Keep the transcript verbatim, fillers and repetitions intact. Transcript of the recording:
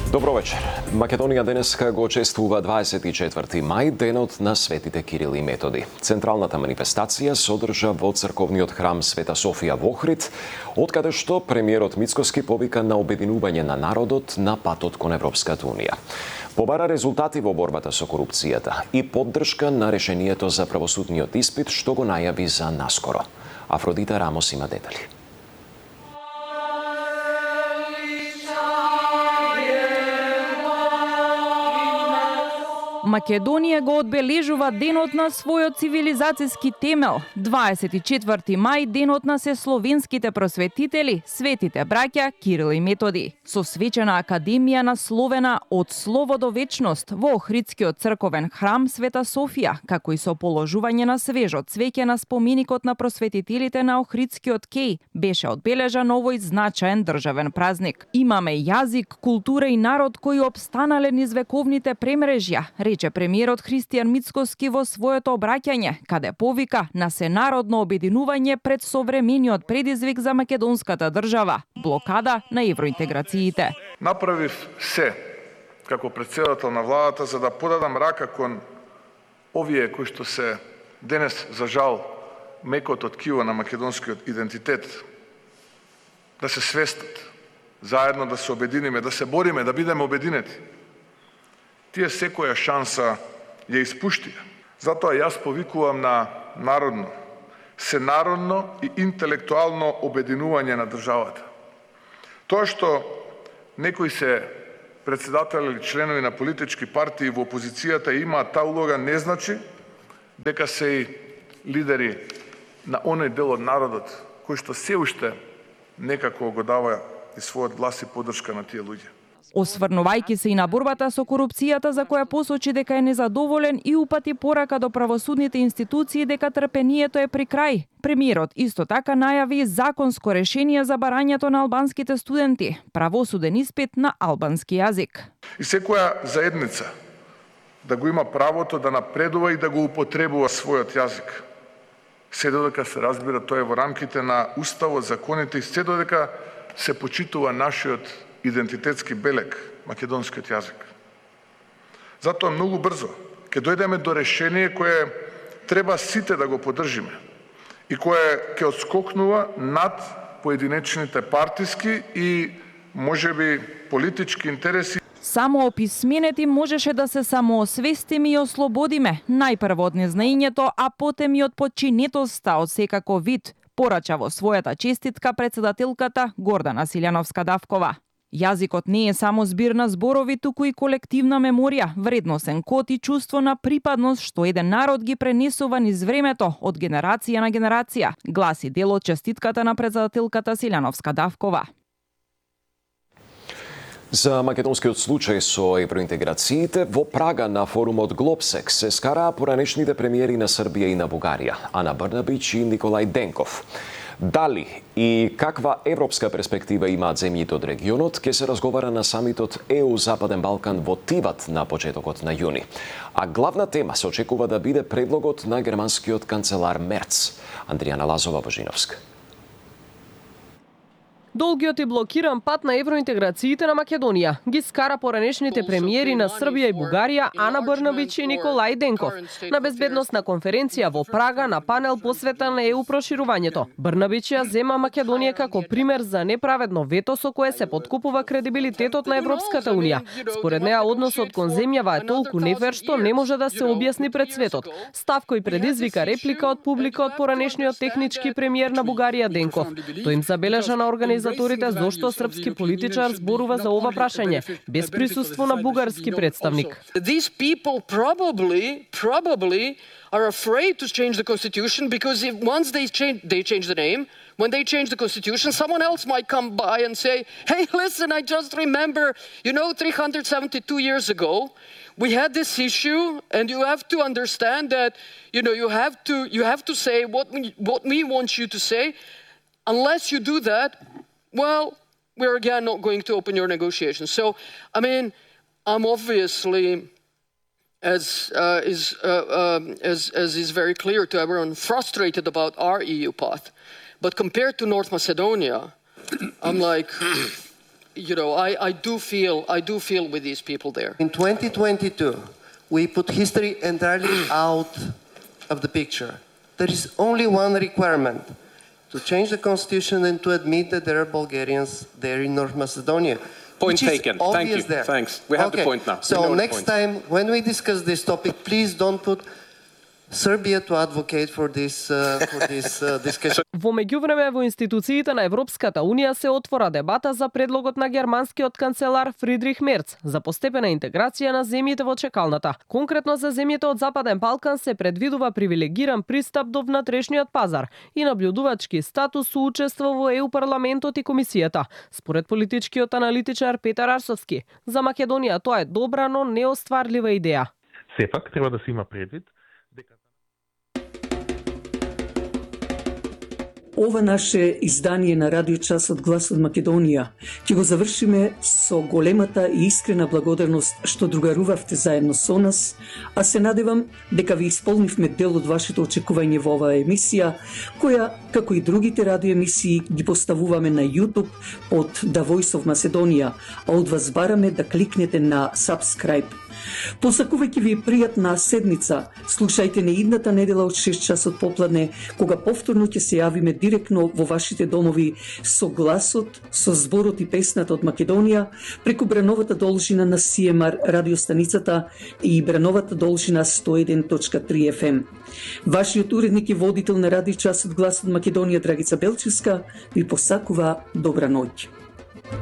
Добро вечер. Македонија денеска го чествува дваесет и четврти мај, денот на светите Кирил и Методи. Централната манифестација се одржа во црковниот храм Света Софија во Охрид, откаде што премиерот Мицкоски повика на обединување на народот на патот кон Европската унија. Побара резултати во борбата со корупцијата и поддршка на решението за правосудниот испит што го најави за наскоро. Афродита Рамос има детали. Македонија го одбележува денот на својот цивилизацијски темел. дваесет и четврти мај, денот на сесловенските просветители, светите браќа Кирил и Методи. Со свечена академија насловена од слово до вечност во Охридскиот црковен храм Света Софија, како и со положување на свежо цвеќе на споменикот на просветителите на Охридскиот кеј, беше одбележан овој значаен државен празник. Имаме јазик, култура и народ кои опстанале низ вековните премрежја, рече премиерот Христијан Мицкоски во своето обраќање, каде повика на сенародно обединување пред современиот предизвик за македонската држава – блокада на евроинтеграциите. Направив се како претседател на владата за да подадам рака кон овие кои што се денес за жал мекото ткиво на македонскиот идентитет, да се свестат, заедно да се обединиме, да се бориме, да бидеме обединети. Тие секоја шанса ја испуштија. Затоа јас повикувам на народно, сенародно и интелектуално обединување на државата. Тоа што некои се председатели или членови на политички партии во опозицијата имаат таа улога не значи дека се и лидери на оној дел од народот кој што се уште некако го дава и својот глас и поддршка на тие луѓе. Осврнувајќи се и на борбата со корупцијата за која посочи дека е незадоволен и упати порака до правосудните институции дека трпението е при крај. Премиерот исто така најави законско решение за барањето на албанските студенти, правосуден испит на албански јазик. И секоја заедница да го има правото да напредува и да го употребува својот јазик. Се додека се разбира тоа е во рамките на уставот, законите и се додека се почитува нашиот идентитетски белег, македонскиот јазик. Затоа многу брзо ќе дојдеме до решение кое треба сите да го поддржиме и кое ќе отскокнува над поединечните партиски и можеби политички интереси. Само описменети можеше да се самоосвестиме и ослободиме, најпрво од незнаењето, а потем и од подчинетоста од секако вид, порача во својата честитка председателката Гордана Силјановска-Давкова. Јазикот не е само збир на зборови, туку и колективна меморија, вредносен код и чувство на припадност што еден народ ги пренесува низ времето од генерација на генерација, гласи дел од честитката на председателката Силјановска-Давкова. За македонскиот случај со евроинтеграциите, во Прага на форумот Глобсек се скараа поранешните премиери на Србија и на Бугарија, Ана Брнабич и Николај Денков. Дали и каква европска перспектива имаат земјите од регионот, ќе се разговара на самитот Е У Западен Балкан во Тиват на почетокот на јуни. А главна тема се очекува да биде предлогот на германскиот канцелар Мерц. Андријана Лазова-Божиновска. Долгиот и блокиран пат на евроинтеграциите на Македонија ги скара поранешните премиери на Србија и Бугарија Ана Брнабич и Николај Денков на безбедносна конференција во Прага на панел посветен на Е У проширувањето. Брнабич ја зема Македонија како пример за неправедно вето со кое се поткупува кредибилитетот на Европската унија. Според неа односот кон земјава е толку нефер што не може да се објасни пред светот. Став кој предизвика реплика од публика од поранешниот технички премиер на Бугарија Денков. Тој им забележа на организацијата зошто српски политичар зборува за ова прашање без присуство на бугарски представник. These people probably probably are afraid to change the constitution because if once they change they change the name, when they change the constitution, someone else might come by and say, "Hey, listen, I just remember, you know, three hundred seventy-two years ago, we had this issue, and you have to understand that, you know, you have to you have to say what we, what we want you to say. Unless you do that, well, we're again not going to open your negotiations." So, I mean, I'm obviously, as uh, is uh, um, as as is very clear to everyone, frustrated about our E U path. But compared to North Macedonia, I'm like, you know, I, I do feel I do feel with these people there. In twenty twenty-two, we put history entirely out of the picture. There is only one requirement: to change the constitution and to admit that there are Bulgarians there in North Macedonia. Point taken. Thank you. There. Thanks. We have okay. the point now. So next time when we discuss this topic, please don't put Serbia to advocate for this uh, for this uh, discussion. Во меѓувреме во институциите на Европската унија се отвора дебата за предлогот на германскиот канцелар Фридрих Мерц за постепена интеграција на земјите во чекалната. Конкретно за земјите од Западен Балкан се предвидува привилегиран пристап до внатрешниот пазар и набљудувачки статус со учество во Е У парламентот и комисијата. Според политичкиот аналитичар Петар Арсовски, за Македонија тоа е добра, но неостварлива идеја. Сепак треба да се има предвид дека ова наше издание на Радио Час од Глас од Македонија ќе го завршиме со големата и искрена благодарност што другарувавте заедно со нас, а се надевам дека ви исполнивме дел од вашето очекување во оваа емисија, која, како и другите радиоемисии, ги поставуваме на YouTube под The Voice of Macedonia, а од вас бараме да кликнете на Subscribe. Посакувајќи ви пријатна седмица, слушајте не идната недела од шест часот попладне, кога повторно ќе се јавиме директно во вашите домови со гласот, со зборот и песната од Македонија, преку брановата должина на Си Ем Ар радиостаницата и брановата должина сто и еден точка три Еф Ем. Вашиот уредник и водител на Радио Час од Глас од Македонија, Драгица Белчевска, ви посакува добра ноќ.